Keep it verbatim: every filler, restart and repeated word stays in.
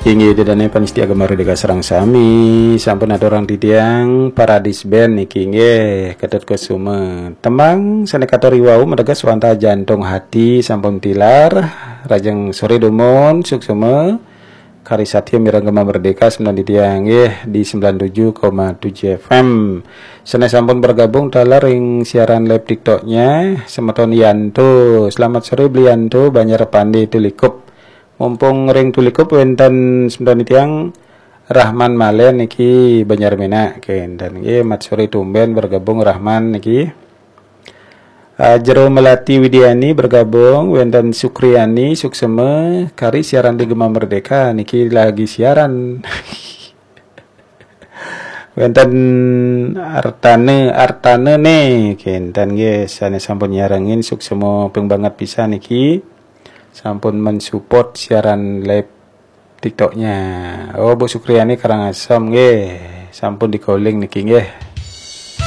Inggih, ida dané pamiarsa Gema Merdeka sareng sami, sampun aturang titiang Paradis Band niki nggih, Ketut Kusuma. Tembang sané katur wau mateges wantah Jantung Hati sampun tilar, lajeng soré dumun, suksma, kari satya mirengang Gema Merdeka semeton titiang nggih di sembilan tujuh koma tujuh F M. Sané sampun bergabung taler ring siaran live TikToknya, semeton Yanto. Selamat sore, Bli Yanto, Banjar Pande Tulikup. Mumpung ring Tulikup wénten semeton titiang Rahman Malen niki Banjar Menak, kénten nggih, mat sore tumben bergabung Rahman niki. Ah, Jero Melati Widiani bergabung, wénten Sukriani, suksma, kari siaran di Gema Merdeka niki lagi siaran. Wénten Artane, Artane né, kénten nggih, sané sampun nyarengin, suksma ping banget pisan niki. Sampun mensupport siaran live TikToknya. Oh, Bu Sukriani Karangasem nggih, sampun di-calling niki nggih.